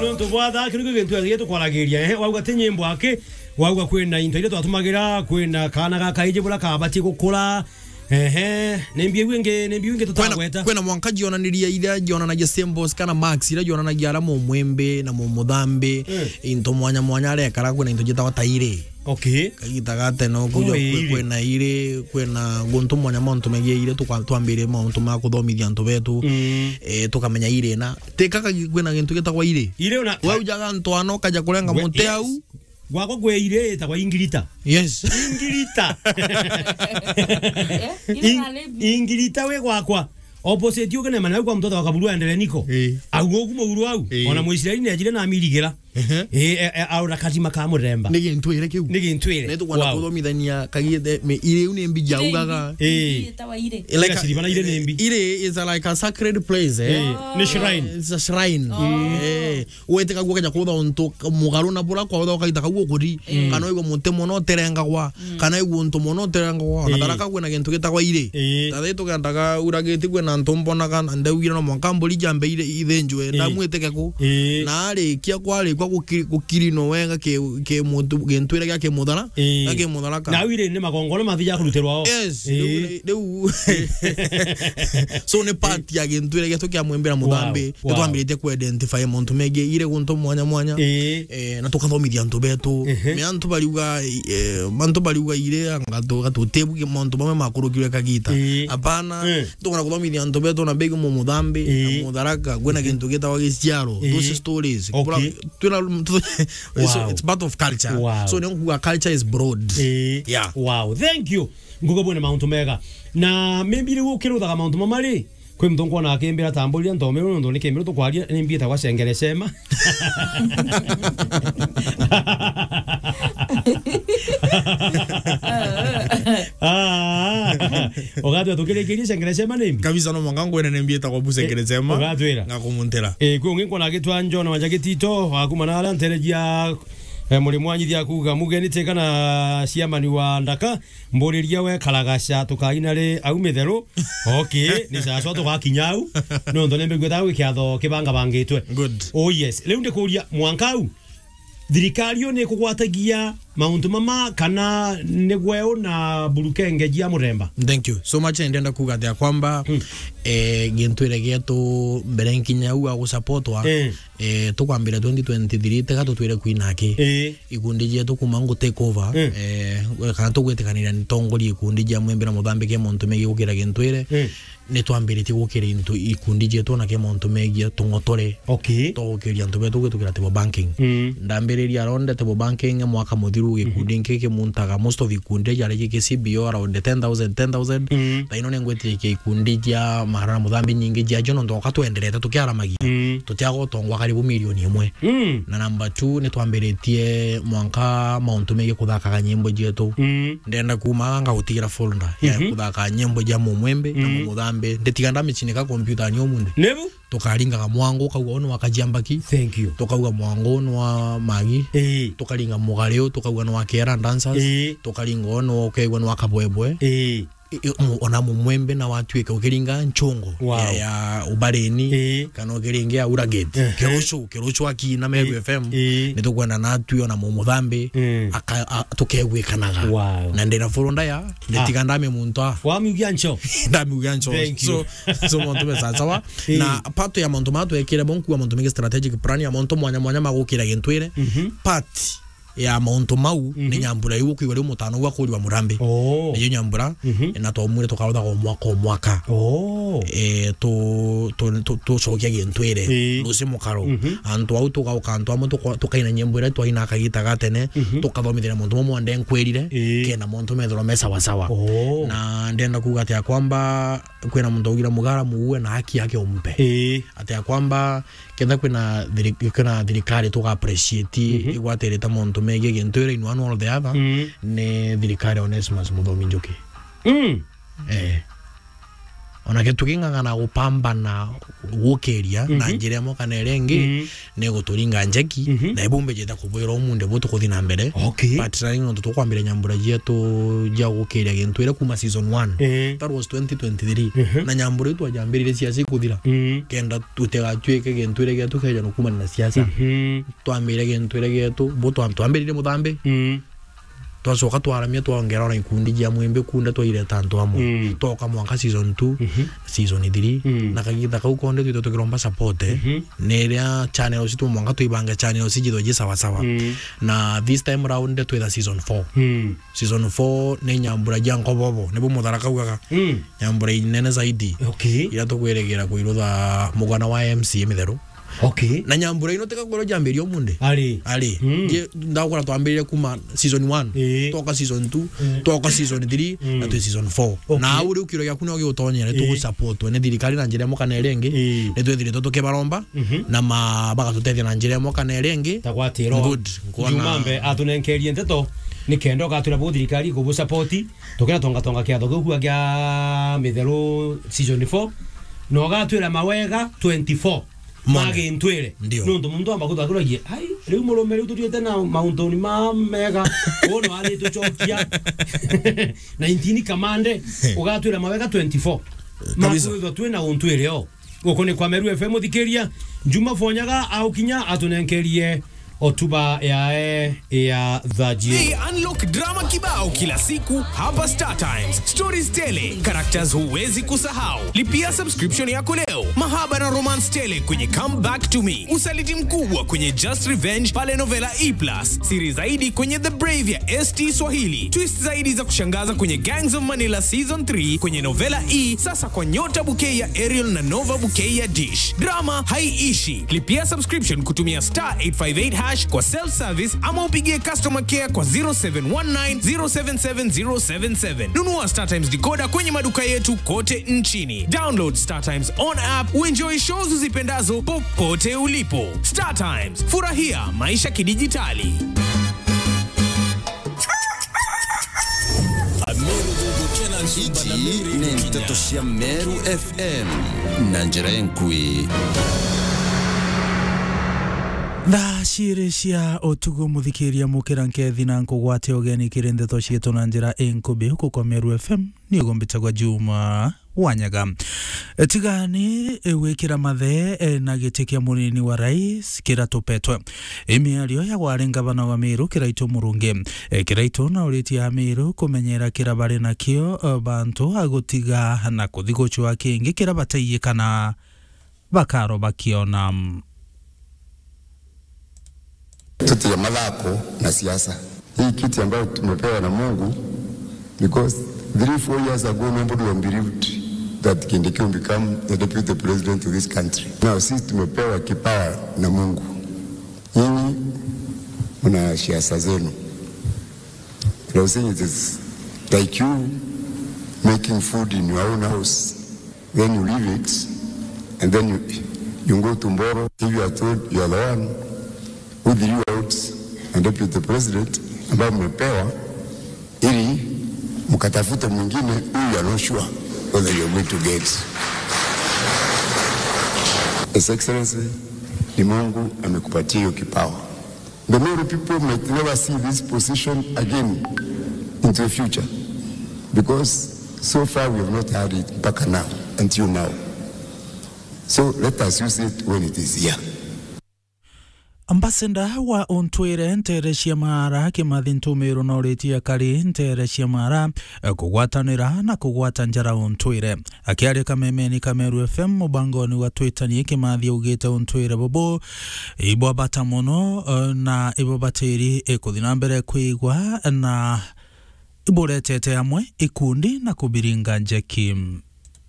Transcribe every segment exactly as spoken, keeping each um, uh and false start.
Nontu bwa thaa, kiu nikio gintu githiite tukwaragiria, eh, wauga ti nyimbo aki, wauga kwina into iria twatumagira, kwina kaana ga kaiji buria kabatie gukura, ehe, ni mbiu ingi, ni mbiu ingi kwina, tutagweta. Kwina mwanka jionaniria iria jionanagia symbols kana marks iria jionanagia aria mumwimbi na mumuthambi, eh, into mwanya mwanya arekara, kwina into jitagwa tairi. Okay. Kagita ga tene uku. Kumbe kwi-, iri. Kwina iri, kwina guntu mwanya mantu megie iri, tukwa-, twambirie mauntu ma kuthomithia antu betu. Mm. Eh, tukamenya iri na. Teka kagi-, kwina gintu gitagwa iri. Iri una- Waujaga ntwano, ukaja kurenga muti au. Gwakwa kwi iri itagwa ingirita. Yes. Ingirita. Eh, iri In-, na lebi. Ingirita wi gwakwa. Opposite ukinema nau kwa mtoto wa Kaburu aendelee niko. Eh. Au ugu muguru au. Eh. Ona Muisraeli ni ajire na amirigira. Ehe. Eh, eh, eh, aura kathima ka muremba. Ni gintwire kiu. Ni gintwire. Ni tukwenda kuthomithania kagite, me, iri iu ni mbi jaugaga. Eh. Iri itawa iri. Like, iri is a, like a sacred place, eh? Eh, ni shrine. It's a shrine. Oh. Eh. Weteka gukeja kutha untu mugaru na bura kwa utha ukaita kau ukuri. Mm. Kana igwe muti mono uterengagwa. Mm. Kana igwe untu mono uterengagwa. Na taraka kwina gintu gitagwa iri. Eh. Tathe tukendaga uragiti kwina antu mbonaga na ndaugira no mwanka mburi jambe iri ithinjwe. Eh. Ndamwitike ku. Ii. Na arikia kwarikwa guki-, gukirino wega ki, ki muntu, gintwire gia kimuthara, ii, na kimutharaka. Na au iri ni magongona mathija kurutirwa o. Yes, ii, riu, riu. So ni part ya gintwire gietu kia mwimbira muthambi. Wow, wow. Nitwambiritie ku identify mauntu megie iri guntu mwanya mwanya. Ii. Eh, na tukathomithia antu betu. Ehe. Me antu bariuga, eh, antu bariuga iri anga tu-, gatutibu mauntu mamwe makurukirwe kagita. Ii. Apana, ii. Tugona kuthomithia antu betu na begi mu muthambi, ii, na mutharaka, kwina, mhm, gintu gitagwa giciaro. Ii. Those stories. Okay. Bura-, twina, it's, wow, it's part of culture. Wow. So, ni kuuga culture is broad. Ii. Yeah. Wow. Thank you. Nguga bwene mauntu mega. Na maybe riu ukiruthaga mauntu mama ri, kwi muntu nkwona akimbira tamburira ntomeru nontu ni kimbiru tukwaria, ni mbietagwa cengerecema. Ah, ugatwira tukirikirie cengerecema ni mbi? Kabisa, no mwanka ngwene ni mbietagwa bu cengerecema. Eh, ugatwira. Ngakumuntira. Eh, kwi ungi nkwona agitwa John Wanja Gitito, wa kuma na aria nteregia, eh, muri mwanyithia kuuga mugeni teka na ciamani wa ndaka, mburiria we karagaca tukaina ri au mitheru. Okay, ni sasa tugakinya au. Nontu ni mbigweta gwi kiatho kibangabangitwe. Good. Oh yes. Riu ndikuria mwanka au, thirikari yo ni kugwatagia mauntu mama kana ni gweu na burukenge jia muremba? Thank you so much. Ndenda kuuga atia kwamba, hmm, eh, gintwire gietu mbere nkinya au agusupportwa, eh, eh, tukwambira twenty twenty-three teka tutwire kwina aki. Eh. Ikundi jietu kuma ngu take over, mm, eh, kana tugwitikaniria ni tongoria ikundi jia mwimbira muthambi ke mauntu megie gukira gintwire, mm, ni twambiritie gukira into ikundi jietu na ke mauntu megie tung'otore. Okay. Twa gukiria antu betu gwitukira table banking. Mm. Ndambiriria around table banking mwaka muthiru, gikundi, mhm, nki kimuntaga most of ikundi jari ki C B O around ten thousand, ten thousand. Mm. Thaino ni ngwitikia ikundi jia mara na muthambi nyingi jia jo nontu oka twenderete tukiaramagia. Mm. Tutiaga utongwa karibu milioni imwe. Mm. Na number two, ni twambiritie mwanka mauntu megie kuthakaga nyimbo jietu. Mm. Ndenda kuuma anga gutigira folder ya, mhm, kuthaka nyimbo jia mumwimbi na, mm, mumuthambi. Nditiga ndamichinika computer ni umundi. Nibu? Tukaringaga mwango, ukauga, "Uyu ni wa Kajiambaki." Thank you. Tukauga, "Mwango uyu ni wa Magi." Ii. Tukaringa mugari uyu, tukauga, "Ni wa Kiera Dancers." Ii. Tukaringa uyu ni wa, ukaigua ni wa Kabwebwe. Ii. I-, i-, mu-, ona mumwembe na watuika ukiringa nchongo, wow, ya, ya Ubareni, ii, kana ukiringa ya Uragate. Ehe. Kiruchu, Kiruchu akina Meru, ii, F M, ii, nitukwenda natwi ona mumuthambi, ii, aka-, a-, tukegwikanaga. Wow. Na ndina folder ya, ah, nditiga ndame muntu a. Wamiugia ncho. Ndamiugia ncho. Thank you. So, so mauntu me sawa sawa. Ii. Na part ya mauntu ma twekire bo nkuwa mauntu mege strategic plan ya mauntu mwanya mwanya ma gukira gintwire. Mhm. Part ya mauntu mau, mhm, ni nyambura iu ukwigua riu mutano uu akurirwa murambi. Oh. Niyo nyambura, mhm, na twamwire tukaruthaga o mwaka o mwaka. Oh. Eh, tu-, tu-, tu-, tucokia gintwire. Ii. Lucy Mukaro. Mhm. Antu au tugauka antu amwe tuko-, tukaina nyimbo iria twaina kagita ga tene, mhm, tukathomithia mauntu mamwe nde nkwirire, ii, kena mauntu methirwa me sawa sawa. Oh. Na ndenda kuuga ati ya kwamba kwina muntu augira mugara muue na haki yake umpe. Ii. Ati ya kwamba Kenda kwina thiri-, kwina thirikari tuga appreciate, mhm, igwatirite mauntu megie gintu ira in one or the other, mm, ni thirikari ya Onesmus Muthomi Njuki. Mm. Eh. Ona kintu king'ang'ana gupambana gukiria na Mhm. njira imwe kana iria ingi, Mhm. ni guturinga njeki, Mhm. na ibu mbijite kubwira umunthi bu tukuthi na mbere. Okay. But na nontu tukwambiria nyambura cietu cia gukiria gintu iria kuma season one. Eh. That was twenty twenty-three. Mhm. Na nyambura iu twajambiririe ciaci kuthira. Mhm. Kenda tutigatuike gintu iria gietu keja nukumania na siasa. Mhm. Twambire gintu iria gietu, bu twa-, twambiririe muthambi. Mhm. Twacoka twaramia, twaongera ona ikundi cia mwimbi kunda, twaireta antu amwe. Mm. Twoka mwanka season two, Mhm. season three, Mm. na kagitha kau konde twitwe tukiromba support, eh. Mhm. Ni iria channels tu mwanka twibange channels ijithwe ji sawa sawa. Mm. Na this time round twitha season four. Mm. Season four ni nyambura jia nkobobo, nibu Muthara kaugaga. Mm. Nyambura inene zaidi. Okay. Iria tukwirigira kuirutha mugana wa M C A mitheru. Okay. Na nyambura ino tikakwirwo jambiria umunthi. Ari. Ari. Mm. Je, ndakora twambiririe kuma season one, Ii. Twoka season two, Mm. twoka season three, Mm. na twi season four. Okay. Na au riu kiro giaku no giutonyere, Ii. Tugusupport ni thirikari na njira imwe kana iria ingi. Ii. Ni twithiritwe tukibaromba, Mhm. na ma-, bagatutethia na njira imwe kana iria ingi. Ta gwatira. Good. Nkuona Juma Mbe atunenkerie nteto, ni kenda ugatwira bu thirikari kubu support, tukira tonga tonga kiatho kiu kia mitheru season four, na ugatwira mawega twenty-four. Mone. Magintwire. Ndio. Nontu muntu amba kuthakuragia, "Ai, riu murume riu tuthiete na mauntuni ma mega, wono athi tucokia nineteen kamande, ugatwira mawega twenty-four." Kabisa. Makwithwa twi na untwire o. Guku ni kwa Meru F M, muthikiria. Juma Fonyaga aukinya atunenkerie otuba yae ya thaji. Hey, unlock drama kibao kila siku hapa Star Times. Stories tele, characters huwezi kusahau. Lipia subscription yako leo. Mahaba na romance tele kwenye Come Back to Me. Usaliti mkubwa kwenye Just Revenge pale Novela E plus. Siri zaidi kwenye The Brave ya S T Swahili. Twist zaidi za kushangaza kwenye Gangs of Manila Season three kwenye Novela E, sasa kwa Nyota Bouquet ya Aerial na Nova Bouquet ya Dish. Drama haiishi. Lipia subscription kutumia star eight five eight hash kwa self service ama upigie customer care kwa zero seven one nine zero seven seven zero seven seven. Nunua Star Times decoder kwenye maduka yetu kote nchini. Download Star Times on app, uenjoy shows uzipendazo popote ulipo. Star Times, furahia maisha kidijitali. Iji ni nteto cia Meru F M na njira inkui. Thaa ciiri cia utuku, muthikiria, mukira nkethi na nkugwate ugeni kiri nteto cietu na njira inkubi. Guku kwa Meru F M, niugo mbitagwa Juma Wanyaga. E, tigani, e, gwikira mathe, e, na giti kia munini wa rais kiratupetwe. I miario ya wari ngavana wa Meru, Kiraitu Murungi. E, Kiraitu nauritie Ameru kumenyera kira bari nakio, e, bantu a gutiga na kuthi gucua kingi kira bataiye kana bakaro bakiona. Tutige mathako na siasa. Hii kiti ambayo tumepewa na Mungu, because three, four years ago, nobody would have believed that Kindiki will become the deputy president of this country. Now, sisi tumepewa kipawa na Mungu. Nyinyi mna siasa zenu. And I was saying, it is like you making food in your own house. Then you leave it, and then you, you go to Mboro. If you are told you are the one who threw out a deputy president ambaye mmepewa ili mkatafute mwingine who you are not sure whether you are going to get. His Excellency, ni Mungu amekupatia hiyo kipawa. The Meru people might never see this position again into the future, because so far we have not had it mpaka now, until now. So let us use it when it is here. Ambassador wa untwire ntere cia Maara, Kimathi Ntumiru, noritie akari ntere cia Maara, e, kugwatanira na kugwata njara untwire. Akiaria kamemeni ka Meru F M mubangoni wa Twitanie, Kimathi augite untwire bubu ibwa bata mono, e, na ibubatiri, e, kuthi na mbere kwigwa na iburetete amwe ikundi na kubiringa njeki.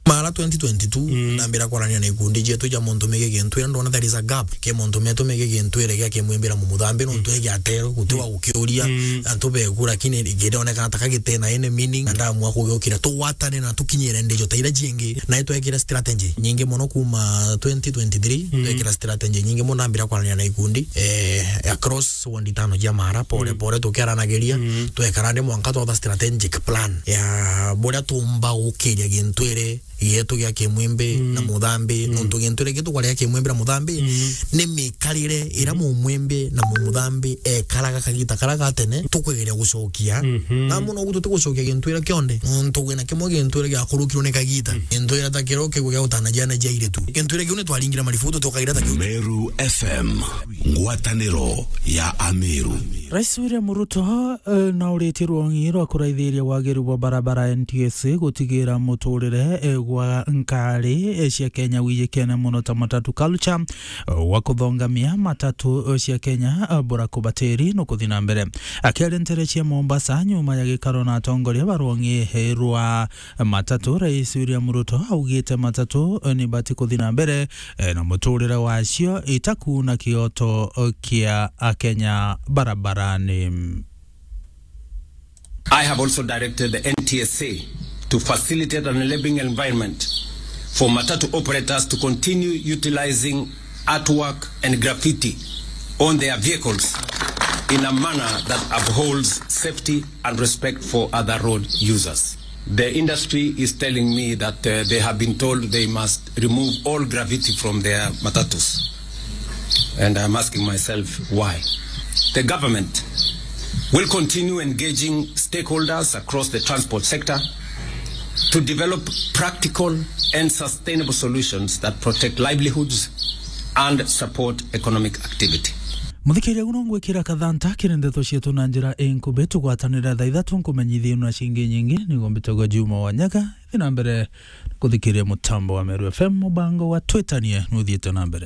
Maara twenty twenty-two, Mm. nambira kwarania na ikundi cietu cia montu megi gintu, ira ndona there is a gap ke montu metu megi gintu ire gia kimwimbira mumuthambi, nontu egi atero guti wa gukiuria, Mm. antu beku, lakini gidoneka ta kagitena any meaning, na ndamua kugiukira tugwatane na tukinyire ndijo ta ira ciingi, na itwekira strategy nyingi mono kuma twenty twenty-three, Mm. twekira strategy nyingi mono, nambira kwarania na ikundi, eh, across ward itano cia Maara, pore, Mm. pore tukiaranagiria, Mm. twekara ndi mwanka twatha strategic plan ya buria tumba gukiria gintu ire gietu gia Kimwimbi Mm. na Muthambi, Mm. nontu gintu iria gietu kwaria Kimwimbi na Muthambi, Mm. ni mikarire iria Mm. Mumwimbi na Mumuthambi ekaraga kagita karia ga tene, tukwegeria gucokia. Mhm. Na muno gutu tugucokia gintu iria kionde, nontu gwina kimwe gintu iria giakurukirwe ni kagita. Mm. Gintu iria ta kiro kigwe gia gutanagia na jaire tu. Gintu iria kiu ni twaringire marifu, tutokagira ta kiu. Meru F M, ngwataniro ya Ameru. Rais William Ruto, eh, nauritie rwong'i rwa kuraithiria wagiru bwa barabara N T S A gutigira muturire, eh, gwa nkari, eh, cia Kenya wijikene muno ta matatu culture, eh, wa kuthongamia matatu, eh, cia Kenya, eh, bura kubatiri no kuthi na mbere. Akiaria ntere cia Mombasa nyuma ya gikaro na atongoria ba rwong'i, eh, rwa matatu, Rais William Ruto augite matatu, eh, ni bati kuthi na mbere, eh, na muturire wacio itakuuna kioto, eh, kia Akenya barabarani. I have also directed the N T S A to facilitate an enabling environment for matatu operators to continue utilizing artwork and graffiti on their vehicles in a manner that upholds safety and respect for other road users. The industry is telling me that, uh, they have been told they must remove all graffiti from their matatus. And I'm asking myself why. The government will continue engaging stakeholders across the transport sector to develop practical and sustainable solutions that protect livelihoods and support economic activity. Muthikiria, guno ngwikira kathanta kiri ndeto cietu na njira inkubi. Tugwatanira thaa ithatu nkumenyithia na cingi nyingi. Nigo mbitagwa Juma Wanyaga. Thi na mbere kuthikiria mutambo wa Meru F M, mubango wa Twitanie nuthiite na mbere.